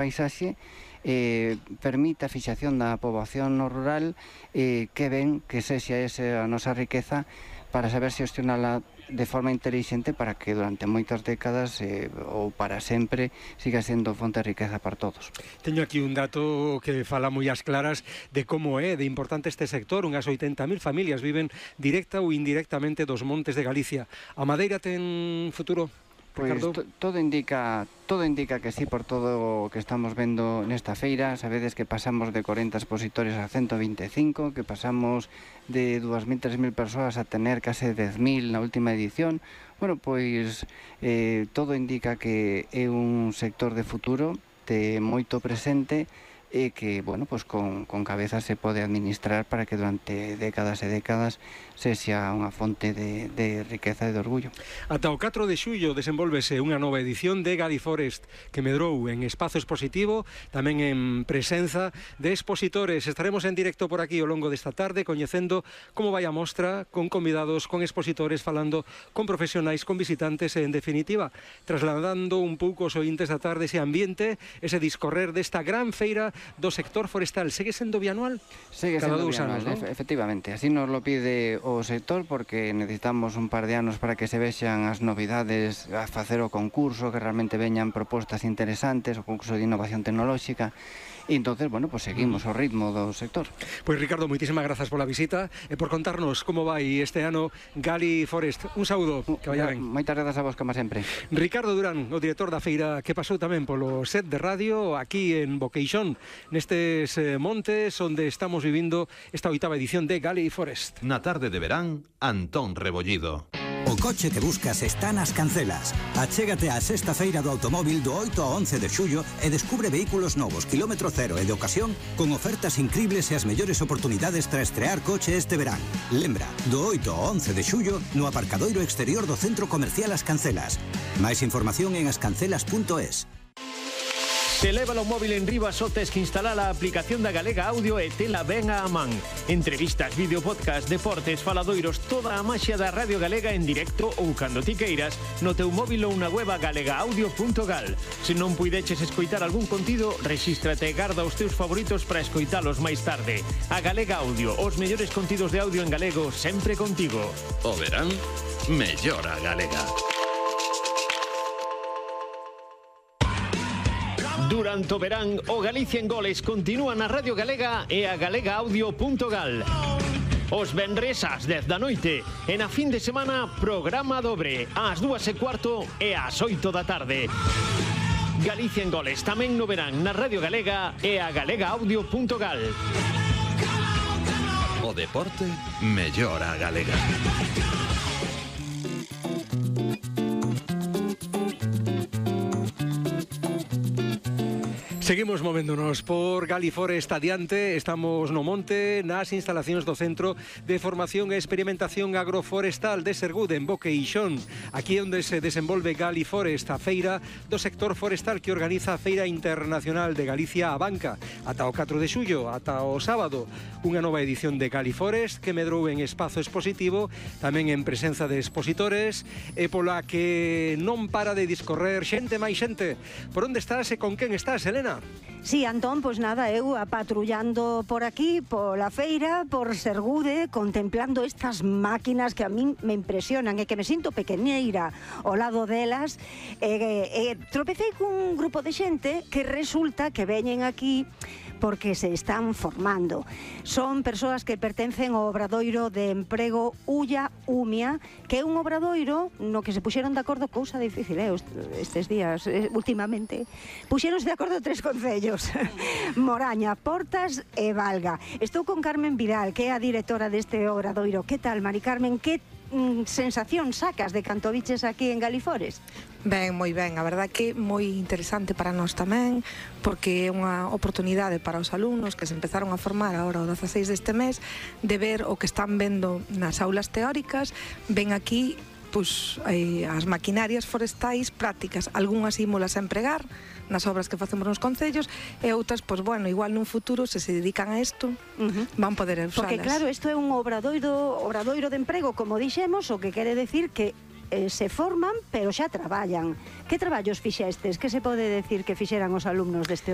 paisaxe permite a fixación da poboación no rural que ven que sexa esa a nosa riqueza para saber xestionala de forma intelixente para que durante moitas décadas ou para sempre siga sendo fonte de riqueza para todos. Teño aquí un dato que fala moi ás claras de como é de importante este sector. Unhas 80.000 familias viven directa ou indirectamente dos montes de Galicia. A madeira ten futuro? Pois todo indica que sí, por todo o que estamos vendo nesta feira. Sabedes que pasamos de 40 expositores a 125, que pasamos de 2.000, 3.000 persoas a tener case 10.000 na última edición. Bueno, pois todo indica que é un sector de futuro, de moito presente, e que, bueno, pues con cabeza se pode administrar para que durante décadas e décadas sexa unha fonte de riqueza e de orgullo. Ata o 4 de xullo desenvolvese unha nova edición de Galiforest que medrou en espazo expositivo, tamén en presenza de expositores. Estaremos en directo por aquí ao longo desta tarde coñecendo como vai a mostra, con convidados, con expositores, falando con profesionais, con visitantes e, en definitiva, trasladando un pouco os ointes da tarde ese ambiente, ese discorrer desta gran feira do sector forestal. Segue sendo bianual? Segue sendo bianual, ¿no? Efectivamente. Así nos lo pide o sector, porque necesitamos un par de anos para que se vexan as novidades, a facer o concurso, que realmente veñan propostas interesantes, o concurso de innovación tecnolóxica. E entonces, bueno, pues seguimos o ritmo do sector. Pois Ricardo, moitísimas grazas pola visita e por contarnos como vai este ano Galiforest. Un saúdo, que vaya ben. Moitas grazas a vos, como sempre. Ricardo Durán, o director da feira, que pasou tamén polo set de radio aquí en Boqueixón, nestes montes onde estamos vivindo esta 8ª edición de Galiforest. Na tarde de verán, Antón Rebollido. O coche que buscas está nas Cancelas. Achégate á sexta feira do automóvil do 8 ao 11 de xullo e descubre vehículos novos, kilómetro cero e de ocasión, con ofertas increíbles e as mellores oportunidades para estrear coche este verán. Lembra, do 8 ao 11 de xullo no aparcadoiro exterior do Centro Comercial As Cancelas. Máis información en ascancelas.es. Se leva o móvil en riba só tes que instalar a aplicación da Galega Audio e tela ben á man. Entrevistas, vídeo podcast, deportes, faladoiros, toda a maxia da Radio Galega en directo ou cando ti queiras no teu móvil ou na web galegaaudio.gal. Se non puideches escoitar algún contido, rexístrate e garda os teus favoritos para escoitalos máis tarde. A Galega Audio, os mellores contidos de audio en galego sempre contigo. O verán, mellora Galega. Durante o verán, o Galicia en Goles continúa na Radio Galega e a galegaaudio.gal. Os venres ás 10 da noite e na fin de semana programa dobre ás 2:15 e ás 8 da tarde. Galicia en Goles tamén no verán na Radio Galega e a galegaaudio.gal. O deporte mellora Galega. Seguimos movéndonos por Galiforest adiante. Estamos no monte, nas instalacións do Centro de Formación e Experimentación Agroforestal de Sergude, en Boqueixón. Aquí é onde se desenvolve Galiforest, a feira do sector forestal que organiza a Feira Internacional de Galicia a Banca. Ata o 4 de xullo, ata o sábado, unha nova edición de Galiforest que medrou en espazo expositivo, tamén en presenza de expositores, e pola que non para de discorrer xente máis xente. Por onde estás e con quen estás, Elena? Sí, Antón, pois nada, eu apatrullando por aquí, pola feira, por Sergude, contemplando estas máquinas que a min me impresionan e que me sinto pequeneira ao lado delas. Tropecei cun grupo de xente que resulta que veñen aquí porque se están formando. Son persoas que pertencen ao obradoiro de emprego Ulla Umia, que é un obradoiro no que se puxeron de acordo, cousa difícil, estes días, últimamente. Puxeronse de acordo 3 concellos, Moraña, Portas e Valga. Estou con Carmen Vidal, que é a directora deste obradoiro. Que tal, Mari Carmen? Que sensación sacas de canto viches aquí en Galiforest? Ben, moi ben, a verdad que moi interesante para nós tamén, porque é unha oportunidade para os alumnos que se empezaron a formar agora o 16 deste mes, de ver o que están vendo nas aulas teóricas, ven aquí pois, as maquinarias forestais prácticas, algunhas ímolas a empregar nas obras que facemos nos concellos e outras, pois bueno, igual nun futuro se dedican a isto, van poder usalas. Porque claro, isto é un obradoiro de emprego, como dixemos, o que quere decir que se forman, pero xa traballan. Que traballos fixestes? Que se pode decir que fixeran os alumnos deste